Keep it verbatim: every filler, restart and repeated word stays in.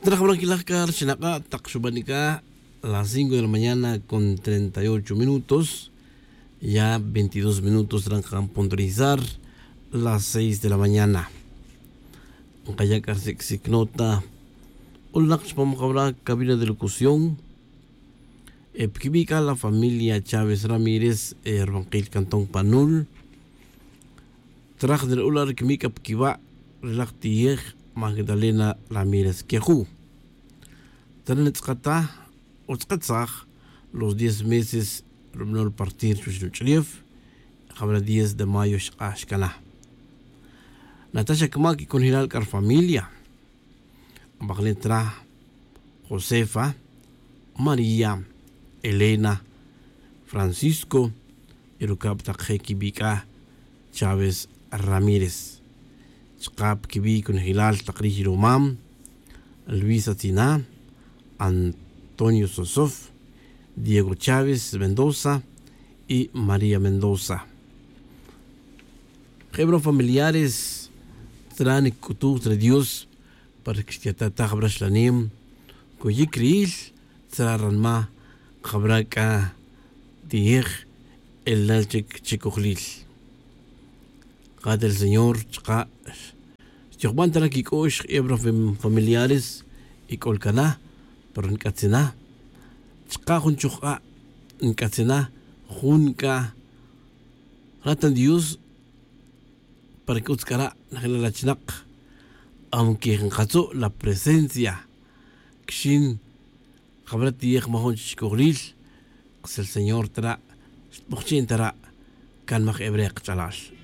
Traj bra quilaj ca rxinak'a tak xubanica las cinco de la mañana con treinta y ocho minutos. Ya veintidós minutos ran can puntualizar las seis de la mañana. Nkaya' c'a rsic'sic nota. Ulanak chupam jabra cabina de locución. E piquibi' c'a la familia chávez ramírez e rubankil cantón panul. Traj nra'ula' rquimic c'a piquiba' ri laj tiyej magdalena ramírez queju. Tana nitz'akata o tz'akatsaj los diez meses rubanol partir chuwech nuch'ulef. Jabra diez de mayo xk'ax cana. Nata xa camac y conjelal c'a rfamilia. Abaklen tra josefa, maría, elena, francisco, y rucab tak je' quibic'a chávez ramírez. Chaka' piquibi' conejilal tak riy rumam luisa tzina, antonio sosof, diego chávez mendoza, y maría mendoza. Je' bra familiares tra nic'utuj tra dios para que xtiatataj bra xlanem. Coyic riil tzra ranma jabra c'a tiyej elnal chic chicojlil. Kate' ri señor chaka' xtijban ta ra quic'ox jebra familiares y c'ol cana pero nc'atzina. Chaka' jun chujk'a' nc'atzina jun c'a ratan dios. Para que utz c'ara' najila' la chinak aunque nkatzu' la presencia quixin jabra tiyej majun chi chicojlil. Ksil señor tara' xtbujchi'n tara' can maj hebre kach'alal.